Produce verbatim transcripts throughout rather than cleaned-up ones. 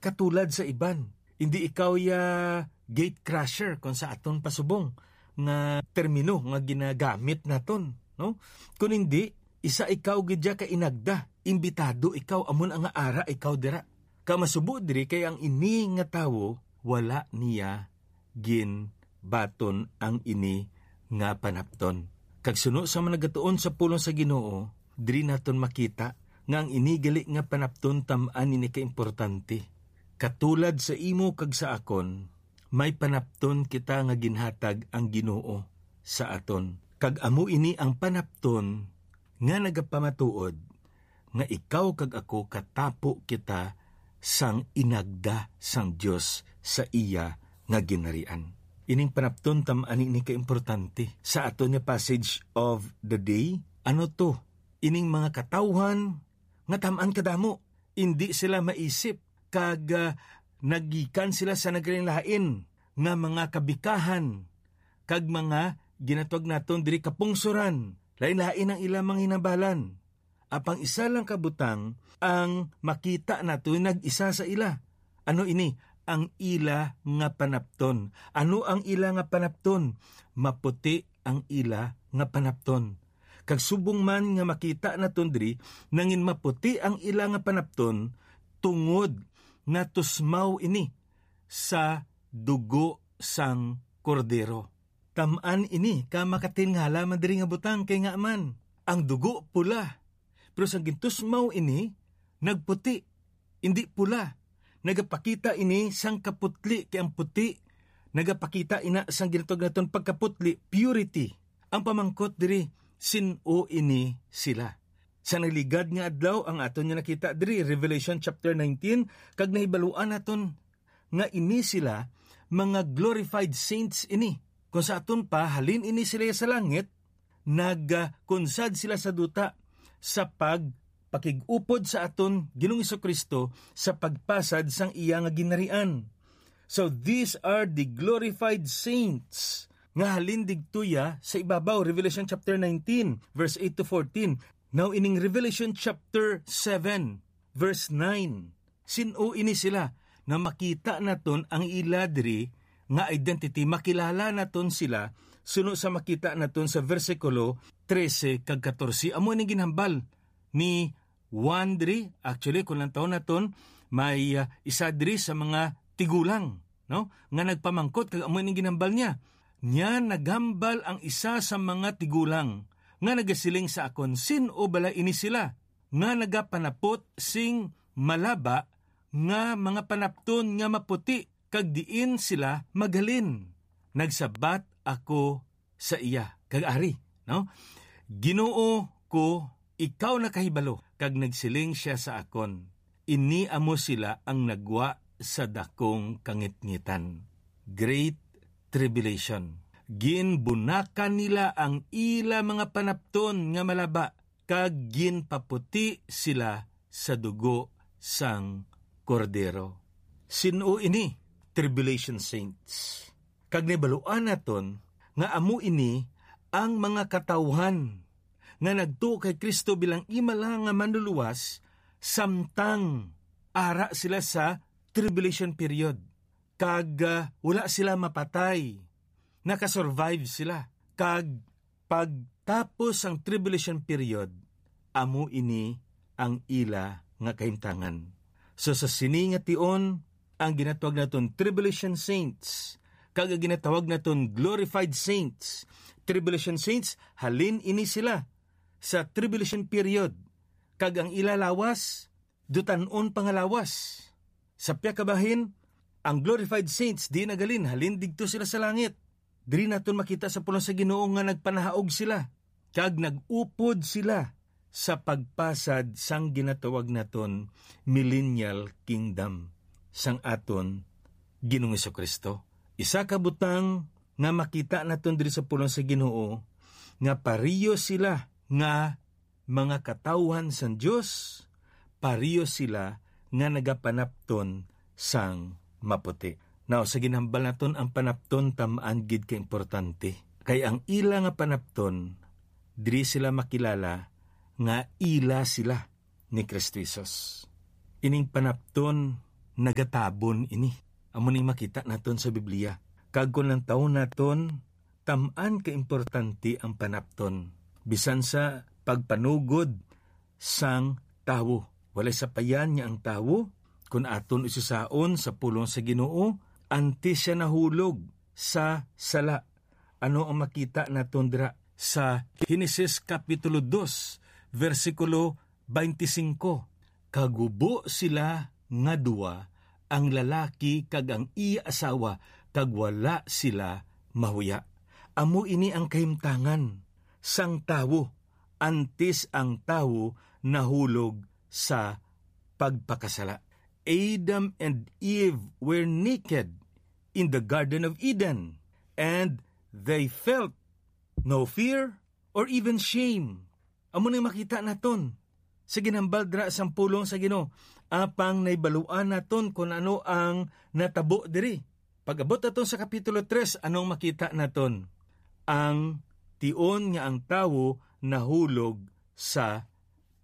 katulad sa iban. Hindi ikaw ya gate crusher, kung sa aton pasubong nga termino nga ginagamit naton, no? Kun hindi, isa ikaw gid ya ka inagda, imbitado ikaw, amo na nga ara ikaw dira. Ka masubo diri kay ang ini nga tawo wala niya ginbaton ang ini nga panapton. Kag suno sa mga nagatuon sa pulong sa Ginoo, diri naton makita nga ang ini gali nga panapton tam-an ini kaimportante. Katulad sa imo kag sa akon, may panapton kita nga ginhatag ang Ginoo sa aton. Kag amo ini ang panapton nga nagapamatuod nga ikaw kag ako katapo kita sang inagda sang Dios sa iya nga ginharian. Ining panapton tam-an ini kaimportante sa aton nga passage of the day. Ano to? Ining mga katawhan nga tam-an kadamo, indi sila maisip kag, ah, nagikan sila sa naglain-lain nga mga kabikahan kag mga ginatawag naton diri kapungsoran. Lain-lain ang ilang mga hinabalan. Apang isa lang ka butang ang makita nato nag-isa sa ila. Ano ini? Ang ila nga panapton. Ano ang ila nga panapton? Maputi ang ila nga panapton. Kag subong man nga makita naton diri, nangin maputi ang ila nga panapton tungod natusmaw ini sa dugo sang Kordero. Tam-an ini ka makatingala man diri nga butang, kay ngaa man, ang dugo pula, pero sang gintusmaw ini, nagputi, indi pula. Nagapakita ini sang kaputli, kay ang puti nagapakita ina sang ginatawag naton pagkaputli, purity. Ang pamangkot diri, sin-o ini sila? Sa nagligad nga adlaw, ang aton nga nakita diri, Revelation chapter nineteen, kag nahibaluan naton nga ini sila mga glorified saints ini. Kung sa aton pa, halin ini sila sa langit, nagkunsad sila sa duta sa pagpakig-upod sa aton Ginoong Jesu-Cristo sa pagpasad sang iya nga ginharian. So, these are the glorified saints nga halin digtuya sa ibabaw, Revelation chapter nineteen, verse eight to fourteen. Now, ining Revelation chapter seven, verse nine. Sin-o ini sila nga makita naton ang ila diri nga identity, makilala naton sila suno sa makita naton sa bersikulo trese kag katorse. Amo ni ginhambal ni Juan diri. Actually, kung lantawon naton, may, ah, isa diri sa mga tigulang, no, nga nagpamangkot, kag amo ni ginhambal niya. Niya naghambal ang isa sa mga tigulang nga nagasiling sa akon, "Sin-o bala ini sila nga nagapanapot sing malaba nga mga panapton nga maputi, kag diin sila maghalin?" Nagsabat ako sa iya, kag ari, no? "Ginoo ko, ikaw nakahibalo." Kag nagsiling sia sa akon, "Ini amo sila ang nagwa sa dakong kangitngitan, great tribulation. Ginbunakan nila ang ila mga panapton nga malaba, kag ginpaputi sila sa dugo sang Kordero." Sin-o ini? Tribulation saints. Kag nahibaluan naton nga amo ini ang mga katawuhan nga nagtuo kay Cristo bilang imo lang nga manluluwas, samtang ara sila sa tribulation period, kag, ah, wala sila mapatay, nakasurvive sila, kag pagtapos sang tribulation period, amo ini ang ila nga kahimtangan. So, sa sini nga tion, ang ginatawag naton tribulation saints, kag ang ginatawag naton glorified saints. Tribulation saints, halin ini sila sa tribulation period, kag ang ila lawas, dutan-on pa nga lawas. Sa pihak ka bahin, ang glorified saints, di nagalin, halin digto sila sa langit. Diri naton makita sa pulong sa Ginoo nga nagpanahaog sila, kag nag-upod sila sa pagpasad sang ginatawag naton millennial kingdom sang aton Ginoong Jesu-Cristo. Isa ka butang nga makita naton diri sa pulong sa Ginoo, nga pareho sila nga mga katawuhan sang Dios, pareho sila nga nagapanapton sang maputi. Now, sa ginhambal naton, ang panapton tam-an gid ka importante. Kay ang ila nga panapton, diri sila makilala nga ila sila ni Cristo Jesus. Ining panapton nagatabon ini. Amo ning makita naton sa Biblia. Kag kon lantawon naton, tam-an ka importante ang panapton. Bisan sa pagpanugod sang tawo. Walay sapayan nga ang tawo, kun aton usisaon sa pulong sa Ginoo, antes siya nahulog sa sala. Ano ang makita naton dira sa Genesis Kapitulo dos, bersikulo twenty-five? "Kagubo sila nga duwa, ang lalaki kag ang iya asawa, kag wala sila mahuya." Amo ini ang kahimtangan sang tawo antes ang tawo nahulog sa pagpakasala. Adam and Eve were naked in the Garden of Eden, and they felt no fear or even shame. Amo nang makita naton sa ginhambal dira sang pulong sa Ginoo, apang nahibaluan naton kon ano ang natabo diri. Pag-abot naton sa Kapitulo tres, anong makita naton? Ang tion nga ang tawo nahulog sa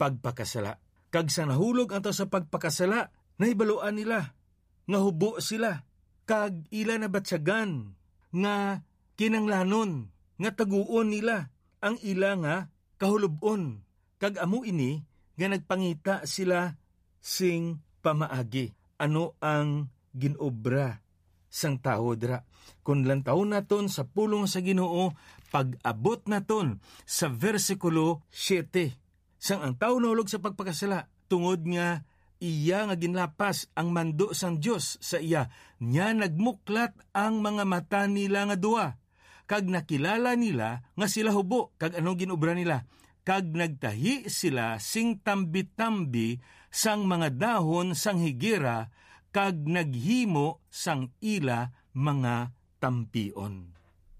pagpakasala. Kag sa nahulog ang tawo sa pagpakasala, nahibaluan nila nga hubo sila, kag ila nabatyagan nga kinanglanon nga taguon nila ang ila nga kahulub-on, kag amo ini nga nagpangita sila sing pamaagi. Ano ang ginobra sang tawo dira? Kon lantawon naton sa pulong sa Ginoo, pag-abot naton sa bersikulo siete, sang ang tawo nahulog sa pagpakasala, tungod nga iya nga ginlapas ang mando sang Dios sa iya, niya nagmuklat ang mga mata nila nga duwa, kag nakilala nila nga sila hubo, kag anong ginobra nila? Kag nagtahi sila sing tambi-tambi sang mga dahon sang higera, kag naghimo sang ila mga tampion.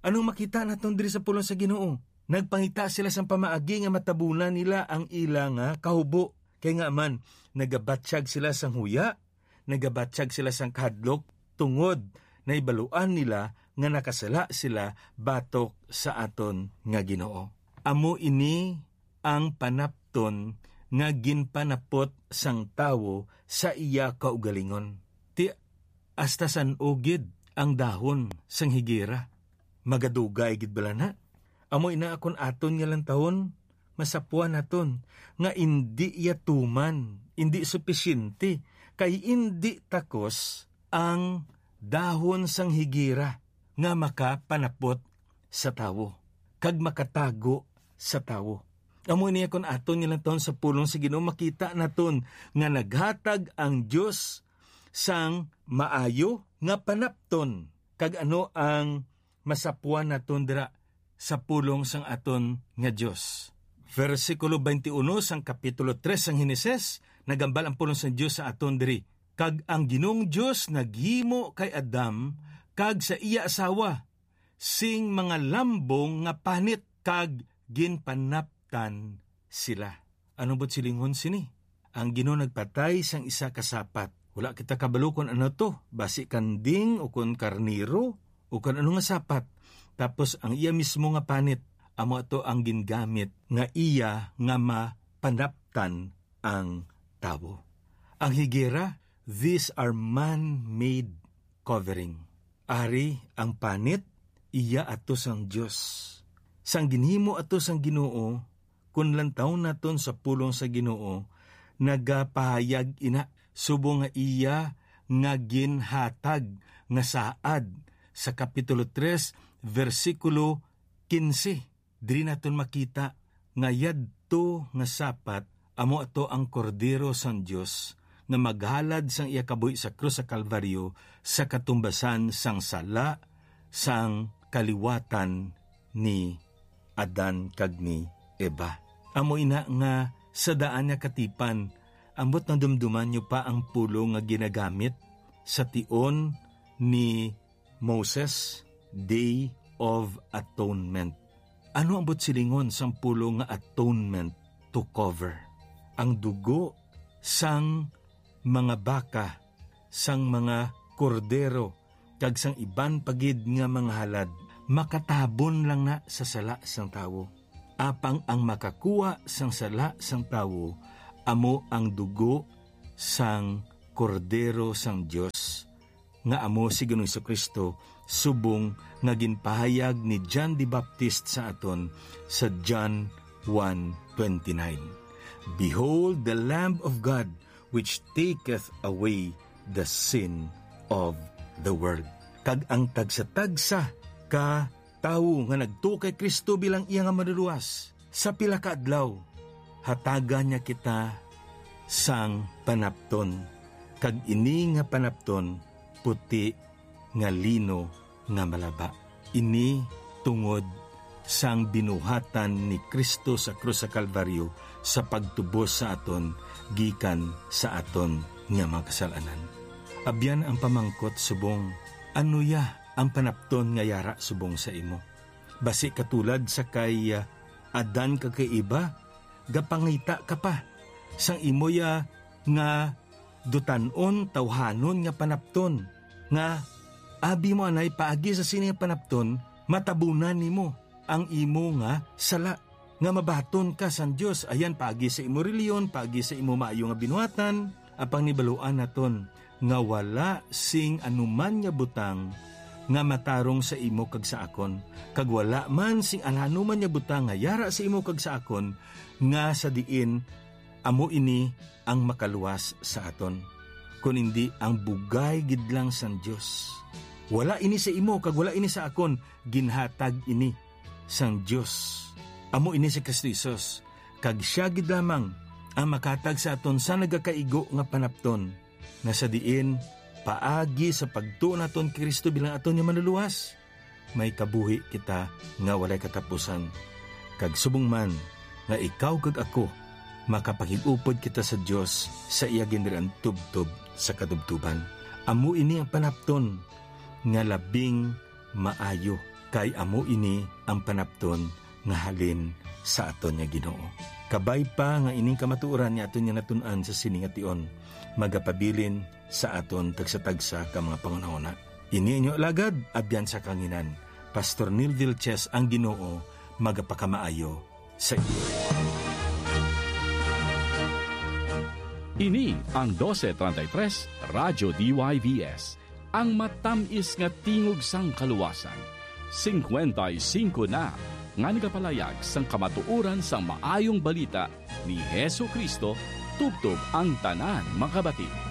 Anong makita naton diri sa pulong sa Ginoo? Nagpangita sila sang pamaagi nga matabunan nila ang ila nga kahubo. Kay nga man, nagabatyag sila sang huya, nagabatyag sila sang kahadlok, tungod nahibaluan nila nga nakasala sila batok sa aton nga Ginoo. Amo ini ang panapton nga ginpanapot sang tawo sa iya kaugalingon. Ti, hasta san-o gid ang dahon sang higera? Magadugay gid bala na? Amo ina, kon aton nga lantawon, masapwan naton nga indi iya tuman, indi supisyente, kay indi takos ang dahon sang higera nga makapanapot sa tawo kag makatago sa tawo. Amo ini, kon aton nga lantawon sa pulong sa Ginoo, makita naton nga naghatag ang Dios sang maayo nga panapton. Kag ano ang masapwan naton dira sa pulong sang aton nga Dios? Bersikulo twenty-one sang kapitulo tres sang Henesis, nagambal ang pulong sang Dios sa aton diri, "Kag ang Ginoong Dios naghimo kay Adam kag sa iya asawa sing mga lambong nga panit, kag ginpanaptan sila." Ano bu't silingon sini? Ang Ginoo nagpatay sang isa ka sapat. Wala kita kabalo kon ano to, basi kanding o kon karnero o kon ano nga sapat. Tapos ang iya mismo nga panit, amo ato ang gingamit nga iya nga mapanaptan ang tawo. Ang higera, these are man-made covering. Ari ang panit, iya ato sang Dios. Sang ginhimo ato sang Ginoo, kun lantawon naton sa pulong sa Ginoo, nagapahayag ina, subong nga iya nga ginhatag nga saad sa kapitulo tres, bersikulo quince. Diri naton makita nga yadto nga sapat amo ato ang Kordero sang Dios nga maghalad sang iya kabuhi sa krus sa Kalbaryo sa katumbasan sang sala sang kaliwatan ni Adan kag ni Eva. Amo ina nga sa daan nga katipan, ambot nadumduman niyo pa ang pulong nga ginagamit sa tion ni Moses, Day of Atonement. Ano ang buot silingon sang pulong nga atonement? To cover. Ang dugo sang mga baka, sang mga kordero, kag sang iban pa gid nga mga halad, makatabon lang na sa sala sang tawo. Apang ang makakuha sang sala sang tawo amo ang dugo sang Kordero sang Dios, nga amo si Ginoong Jesu-Cristo, subong nga ginpahayag ni John the Baptist sa aton sa John one twenty-nine, "Behold the Lamb of God, which taketh away the sin of the world." Kag ang tagsa-tagsa ka tawo nga nagtuo kay Cristo bilang iya nga Manluluwas, sa pila ka adlaw, hatagan niya kita sang panapton, kag ini nga panapton puti nga lino nga malaba. Ini tungod sang binuhatan ni Cristo sa krus sa Kalbaryo sa pagtubos sa aton gikan sa aton nga mga kasalanan. Abyan ang pamangkot subong, ano ya ang panapton nga yara subong sa imo? Basi katulad sa kay, ah, Adan kag kay Eva, gapangita ka pa sang imo ya nga dutan-on, tawhanon nga panapton, nga abi mo anay paagi sa sini nga panapton, matabunan nimo ang imo nga sala, nga mabaton ka sang Dios, ayan, paagi sa imo reliyon, paagi sa imo maayo nga binuhatan. Apang nibaluan naton nga wala sing anuman nga butang nga matarong sa imo kag sa akon, kag wala man sing anuman nga butang nga yara sa imo kag sa akon, nga sa diin amo ini ang makaluwas sa aton, kun indi ang bugay gid lang sang Dios. Wala ini sa imo kag wala ini sa akon, ginhatag ini sang Dios. Amo ini si Cristo Jesus, kag sia gid lamang ang makatag sa aton sa nagakaigo nga panapton, nga sa diin paagi sa pagtuo naton kay Cristo bilang aton nga Manluluwas, may kabuhi kita nga walay katapusan. Kag subong man nga ikaw kag ako, makapangig-upod kita sa Dios sa iya ginirian tubtob sa katubtoban. Amo ini ang panapton nga labing maayo, kay amo ini ang panapton nga halin sa aton nga Ginoo. Kabay pa nga ining kamatuoran nga aton nga natun-an sa sini nga tion magapabilin sa aton tagsa-tagsa ka mga panghunahuna. Ini inyo alagad, abyan sa kanginan, Pastor Neil Vilches, ang Ginoo magapakamaayo sa inyo. Ini ang doce treinta y tres Radyo D Y V S, ang matamis nga tingog sang kaluwasan. Singkwenta y singko na nga nagapalayag sang kamatuoran sang maayong balita ni Jesu-Cristo tubtob ang tanan makabati.